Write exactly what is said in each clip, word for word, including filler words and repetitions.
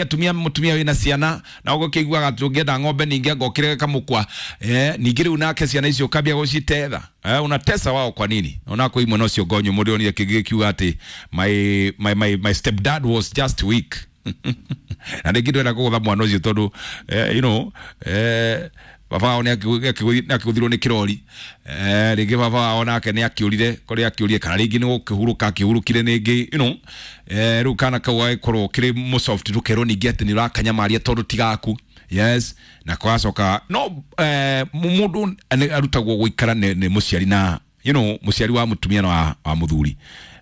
Atumia, mutumia wina ciana na ũgũkĩiguaga atĩ ũngĩenda ng'ombe ningĩ anga ũkĩrege kamũkwa, eh, ningĩ rĩu nake ciana icio ũkambia gũcitetha, eh, unatesa wao kwa nini? Ona kwĩ imwe nocio ngonyo mũndũ onire kĩngĩ gĩkiuga atĩ my, my, my, my stepdad was just weak na rĩngĩ ndwenda kũgũtha mwana ũcio tondũ eh, you know, eh, baba wao nĩ akĩgũthirwo nĩ kĩrori, eh, rĩngĩ baba wao nake nĩ akĩũrire kũrĩa akĩũrire, kana rĩngĩ nĩ gũkĩhurũka akĩhurũkire rĩngĩ, you know, eh, rĩu kana kau gagĩkorwo kĩrĩ mũsoft, ndũkerwo ningĩ atĩ nĩ ũrakanyamaria tondũ ti gaku. Yes, na kwacoka no eh, mũndũ nĩ arutagwo gũikara nĩ nĩ mũciari na you know, mũciari wa mũtumia na wa, wa mũthuri,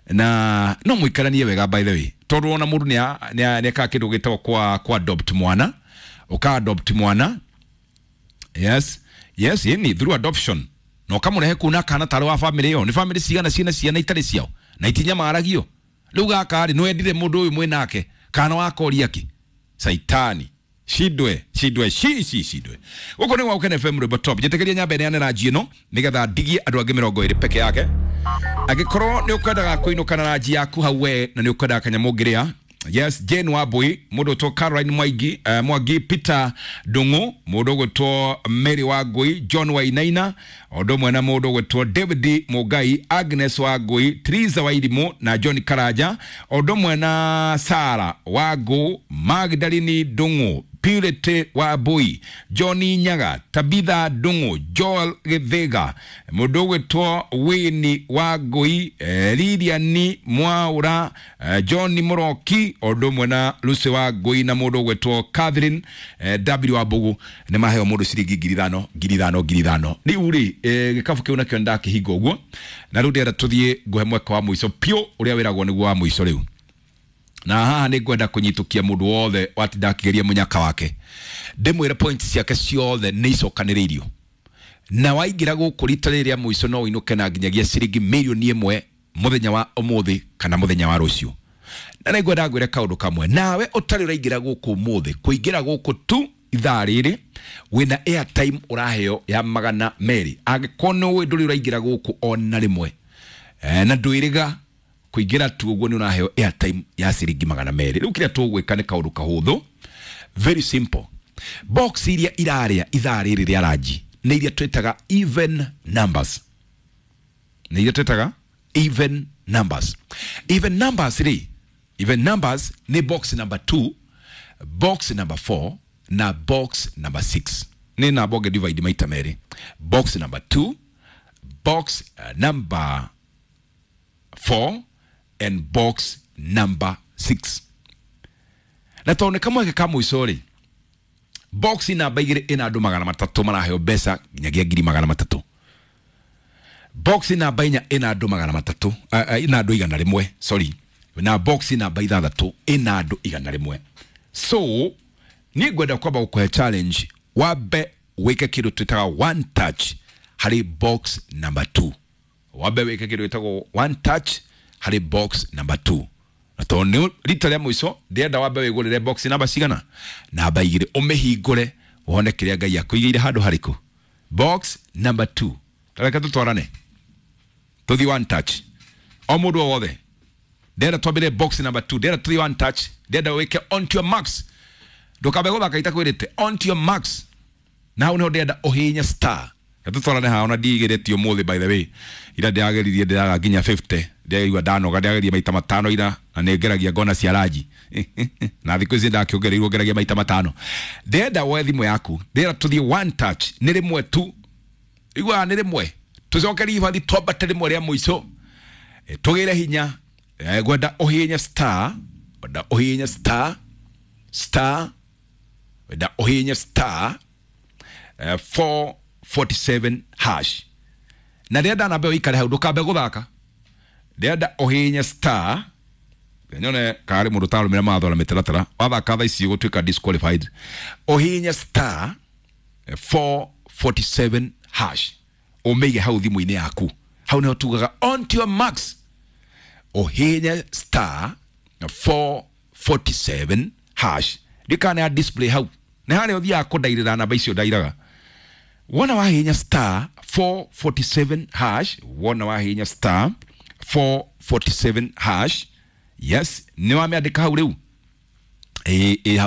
na no mũikaranie wega, by the way, tondũ ona mũndũ nĩ nĩ ekaga kĩndũ gĩtagwo kwa kwa adopt mwana, ũka adopt mwana. yes yes yani through adoption, na ũkamũrehe kuu na kana tarĩ wa family ĩyo. Nĩ family cigana ciĩna ciana itarĩ ciao na itinyamaragio? Rĩu gaka rĩ, nĩwendire mũndũ ũyũ mwĩ nake kana wakoria kĩ saitani shidwe shidwe shi shi shidwe. Gũkũ nĩ gwa Gũkena F M, rwĩmbo top. Njĩtĩkĩria nyambe neane ranji ĩno nĩgetha ndigie andũ angĩ mĩrongo ĩrĩ peke yake. Angĩkorwo nĩ ũkwendaga kũinũka na ranji yaku hau we na nĩ ũkwendaga kanyamũ ũngĩrĩa. Yes, Jane Wambui, mũndũ ũtwo Caroline Mwangi, uh, Mwangi, Peter Ndung'u, mũndũ ũgwĩtwo Mary Wangui, John Wainaina, ũndũ ũmwe na mũndũ ũgwĩtwo David Mũngai, Agnes Wangui, Teresa Wairimũ na John Karanja, ũndũ ũmwe na Sara Wangu, Magdalene Ndung'u, Purity Wambui, John Nyaga, Tabitha Ndung'u, Joel Githiga, mũndũ ũgwĩtwo Winnie Wangui, eh, Lilian Mwaura, eh, John Mũroki, ũndũ ũmwe na Lucy Wangui na mũndũ ũgwĩtwo Catherine eh, W Wambugu nĩ maheo mũndũ ciringi ngiri ithano, ngiri ithano, ngiri ithano. Rĩu rĩ, eh, gĩkabu kĩu nakĩo nĩndakĩhinga ũguo, na rĩu ndĩrenda tũthiĩ ngũhe mweke wa mũico piũ ũrĩa wĩragwo nĩguo wa mũico rĩu. Na haha nĩ ngwenda kũnyitũkia mũndũ wothe watinda akĩgeria mũnyaka wake, ndĩmwĩre points ciake ciothe nĩ icokanĩrĩirio, na waingĩra gũkũ rita rĩrĩ rĩa mũico no ũinũke na nginyagia ciringi mirioni ĩmwe mũthenya wa ũmũthĩ kana mũthenya wa rũciũ. Na nĩ ngwenda ngwĩre kaũndũ kamwe, nawe ũtarĩ ũraingĩra gũkũ ũmũthĩ, kũingĩra gũkũ tu ithaa rĩrĩ wĩna airtime ũraheo ya magana merĩ. Angĩkorwo nĩ ũĩ ndũrĩ ũraingĩra gũkũ ona rĩmwe, eh, na ndwĩrĩga kũingĩra tu ũguo, nĩ ũraheo airtime ya ciringi magana merĩ. Rĩu kĩrĩa tũgwĩka nĩ kaũndũ kahũthũ, very simple. Box iria irarĩa ithaa rĩrĩ rĩa ranji nĩ iria twĩtaga even numbers, nĩ iria twĩtaga even numbers. Even numbers rĩ, even numbers nĩ box number two, box number four na box number six. Nĩ namba ũngĩ divide maita merĩ: box number two, box uh, number four and box number six. Na tondũ nĩ kamweke ka mũico rĩ, box namba igĩrĩ ĩna andũ magana matatũ maraheo mbeca nginyagia ngiri magana matatũ. Box namba inya ĩna andũ magana matatũ, uh, uh, ĩna andũ igana rĩmwe, sorry, na box namba ithathatũ ĩna andũ igana rĩmwe. So niĩ ngwenda kwamba gũkũhe challenge, wambe wĩke kĩndũ twĩtaga one touch harĩ box number two. Wambe wĩke kĩndũ gĩtagwo one touch harĩ box number two, na tondũ nĩ rita rĩa mũico, ndĩrenda wambe wĩgũrĩre box namba cigana? Namba igĩrĩ, ũmĩhingũre wone kĩrĩa Ngai akũigĩire handũ harĩkũ. Box number two. Reke tũtwarane tũthiĩ one touch, o mũndũ o wothe. Ndĩrenda twambĩre box number two, ndĩrenda tũthiĩ one touch, ndĩrenda wĩke on to your max. Ndũkambe gũthaka itakwĩrĩte, on to your max, na hau nĩho ndĩrenda ũhihinye star. Tũtwarane haha, ona ndigĩrĩtie ũmũthĩ, by the way. Ira ndĩrageririe, ndĩraga nginya mĩrongo ĩtano, ndĩraigua ndanoga. Ndĩrageria maita matano ira, na nĩ ngeragia ngona cia ranji, na thikũ ici ndakĩongereirwo ngeragia maita matano. Ndĩrenda woe thimũ yaku, ndĩrenda tũthiĩ one touch, nĩ rĩmwe tu. Iguaga nĩ rĩmwe, tũcokerie ibathi, twambate rĩmwe rĩa mũico, Eh, tũgĩre hinya. Eh, ngwenda ũhihinye star, ngwenda ũhihinye star star, ngwenda ũhihinye star eh, four forty-seven hash. Na ndĩrenda nambe ũikare hau, ndũkambe gũthaka. Ndĩrenda ũhihinye star, nyone karĩ mũndũ ũtarũmĩra mawatho na mĩtaratara. Wathaka thaa ici ũgũtuĩka disqualified. Ũhihinye star eh, four forty-seven hash, ũmĩige hau thimũ-inĩ yaku. Hau nĩho tugaga on to your max. Ũhihinye star four forty-seven hash, ndikana ya display hau, nĩ harĩa ũthiaga kũndairĩra namba icio ndairaga. Wona wahihinya star four forty-seven hash, wona wahihinya star four forty-seven hash, yes, nĩ wamĩandĩka hau. Rĩu Ĩ ĩ hau.